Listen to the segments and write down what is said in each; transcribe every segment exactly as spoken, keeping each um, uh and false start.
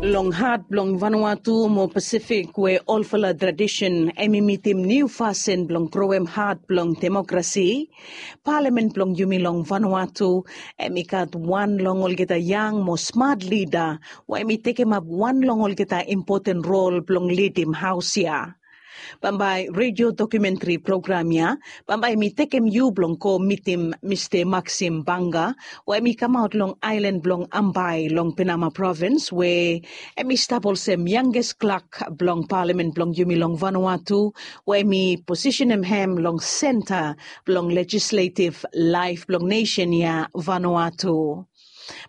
Long hat blong Vanuatu mo Pasifik we olfala tradisen em i mitim niu fasin blong groem hat blong demokrasi, palamen blong yumi long Vanuatu em i gat wan long olgeta yang mo smat lida we em i tekemap wan long olgeta impoten rol blong lidim haos ya. Bambae redio dokumentri program ya bambae mi tekem yu blong go mitim Mista Maxim Banga we em i kamaot long aelan blong Ambae long Penama provins we em i stap olsem yanges klak blong palamen blong yumi long Vanuatu we em i posisenem hem long senta blong lejisletiv laef blong nesen ya Vanuatu.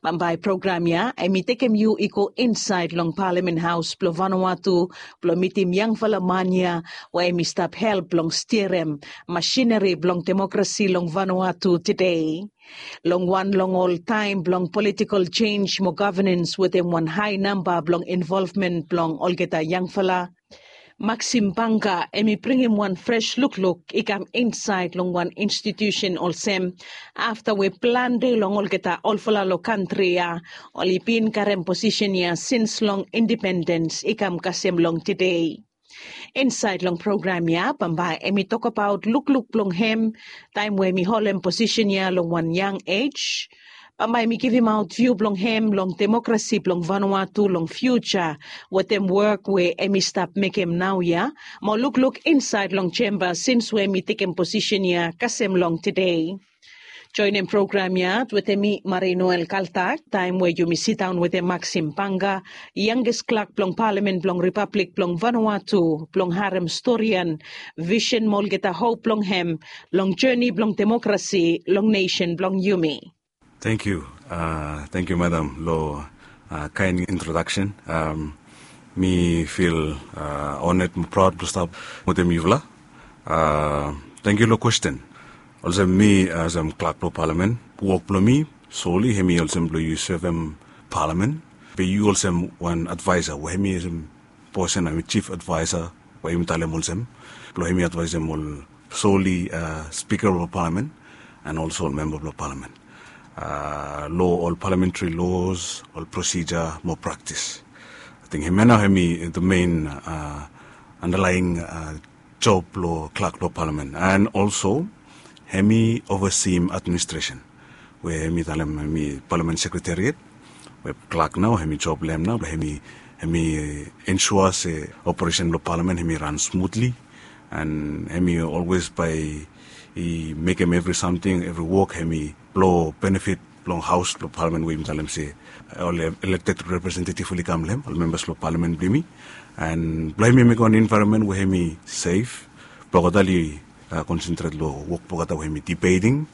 Bambae program ya em i tekem yu i go insaed long palamen haos blong Vanuatu blong mitim yangfala man ya we em i stap help blong stirem masineri blong demokrasi long Vanuatu tede. Long wan long ol taem blong politikol jenj mo gavenans wetem wan hae namba blong involvmen blong olgeta yangfala, Maxim Banga em i bringim wan fres lukluk i kam insaed long wan institiusen olsem afta we plante long olgeta olfala long kantri ya oli bin karem posisen ya sins long indipendens i kam kasem long tede. Insaed long program ya bambae em i tokbaot lukluk blong hem taem we em i holem posisen ya long wan yang ej. Bambae mi givimaot viu blong hem long demokrasi blong Vanuatu long fiuja wetem wok we em i stap mekem naoia mo lukluk insaed long jemba sins we em i tekem posisen ya kasem long tede. Joenem program ya wetem mi Marie Noel Kaltak taem we yumi sidaon wetem Maxim Banga, yanges klak blong palamen blong Ripablik blong Vanuatu blong harem storian, visen mo olgeta hop blong hem long joni blong demokrasi long nesen blong yumi. Tangkiu. Tangkiu madam long kaen introdaksen. Mi fil oned mo praod blong stap wetem yufala. Tangkiu long kwesten. Olsem mi olsem klak blong palamen, wok blong mi soli hemi olsem blong yu sevem palamen. Be yu olsem wan advaesa we hemi olsem posen, hemi jif advaesa we yumi talem olsem blong hemi advaesem ol soli spika blong palamen an olso ol memba blong palamen long ol palamentri los, ol prosija mo praktis. Ating hemia nao hemi the mein andalaing job blong klak blong palamen an olso hemi ovasim administresen we hemi talem hemi palamen sekretariat. We klak nao hemi job blong hem nao blong hemi ensua se operesen blong palamen hemi ran smutli an hemi olwes bae i mekem evri samting, evri wok hemi blong benefit blong haos blong palamen we yumi talem se ol elekted representetiv oli kam long hem, ol membas blong palamen blong yumi. An blong hemi mekem wan envaeronmen we hemi sef blong olgeta oli konsentret long wok blong olgeta we hemi dibeting,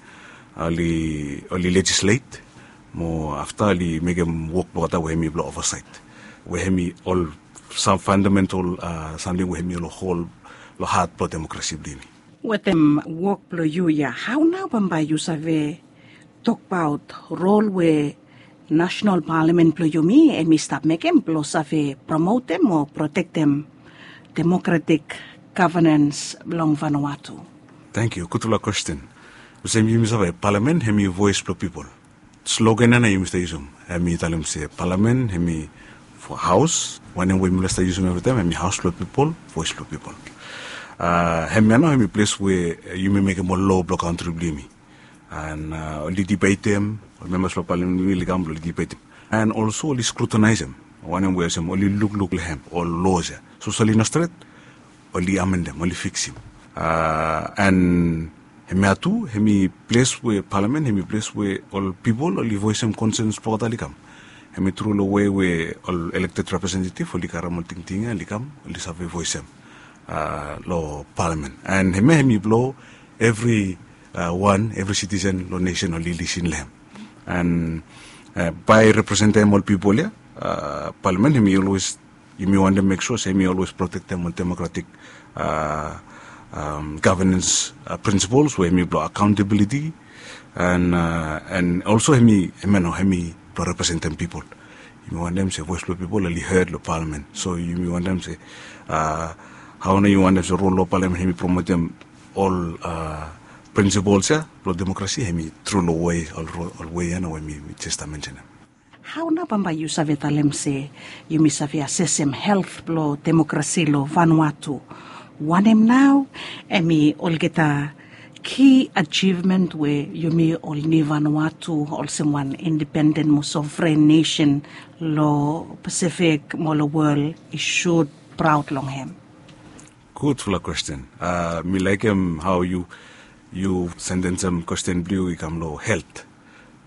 oli lejislet mo afta oli mekem wok blong olgeta we hemi blong ovasaet we hemi ol sam fandamental samting we hemi long hol long hat blong demokrasi blong yumi. Wetem wok blong yu ya, hao nao bambae yu save tokbaot rol we nasenal palamen blong yumi hemi stap mekem blong save promotem o protektem demokratik gavenans blong Vanuatu? Tangkiu, gudfala kwesten. Olsem yumi save palamen hemi voes blong pipol. Slogan ya nao yumi stap yusum hemi talem se palamen hemi haos, wanem we yumi stap yusum evritaem, hemi haos blong pipol, voes blong pipol. Hemia nao hemi ples we yumi mekem ol loa blong kantri blong yumi. An oli dibetem, ol membas blong palamen blong yumi oli kam blong oli dibetem an olso oli skrutinaesem wanem we olsem oli lukluk long hem ol loas ya, sapos oli no stret oli amendem, oli fiksim. An hemia tu hemi ples we palamen hemi ples we ol pipol oli voesem konsens blong olgeta oli kam. Hemi tru long wei we ol elekted representetiv oli karem ol tingting ya oli kam oli save voesem long palamen. An hemia hemi blong evri wan, evri sitisen long nesen oli lisin long hem an bae representem ol pipol ya. Palamen hemi olwes, yumi wantem mek sua se hemi olwes protektem ol demokratik gavenans prinsipols we hemi blong akaontabiliti an olso hemi, hemia nao hemi blong representem pipol. Yumi wantem se voes blong pipol oli hed long palamen. So yumi wantem se hao nao yumi wantem se rol long palamen hemi promotem ol prinsipols ya blong demokrasi hemi tru long wei, ol wei ya nao we mi jes stap mensenem. Hao nao bambae yu save talem se yumi save asesem helt blong demokrasi long Vanuatu? Wanem nao hemi olgeta ki ajivmen we yumi ol Niu Vanuatu olsem wan indipenden mo sovren nesen long Pasifik mo long wol i sud praod long hem? Gudfala kwesten. Mi laikim hao yu sendensem kwesten blong yu i kam long helt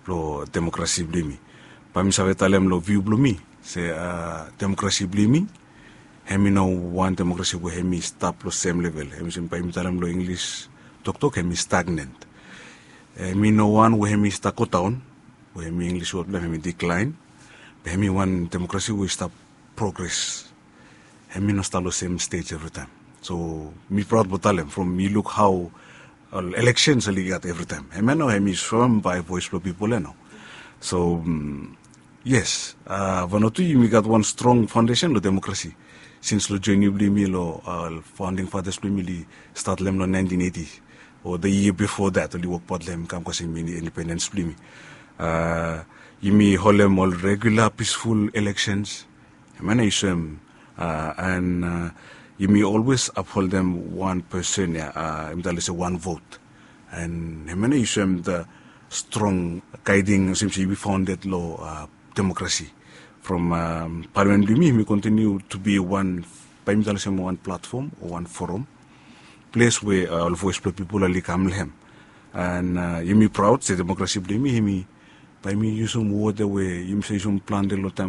blong demokrasi blong yumi. Bae mi save talem long viu blong mi se demokrasi blong yumi hemi no wan demokrasi we hemi stap long sem level. Hemi olsem bae yumi talem long Inglis toktok hemi stagnant. Hemi no wan we hemi stap godaon, we hemi Inglis wod blong hem hemi diklaen. Be hemi wan demokrasi we i stap progres. Hemi no stap long sem stej evritaem. So mi praod blong talem from mi luk hao ol eleksens oli gat evritaem, hemia nao hemi soem bae voes blong pipol ia nao. So yes, Vanuatu yumi gat wan strong faondesen long demokrasi. Sins long joni blong yumi long faonding fatas blong yumi oli stat long hem long naentin eiti, o the year before that oli wokbaot long hem i kam kasem indipendens blong yumi. Yumi holem ol regula pisful eleksens. Hemia nao i soem, an yumi olwes apholdem wan pesen ia, yumi talem se wan vot. An hemia nao i soem the strong gaeding olsem se yumi faonded long demokrasi. From palamen blong yumi hemi kontiniu tu bi wan, bae yumi talem olsem wan platfom o wan foram, ples we ol voes blong pipol oli kam long hem. An yumi praod se demokrasi blong yumi hemi, bae yumi yusum wod ia we yumi save yusum plante long taem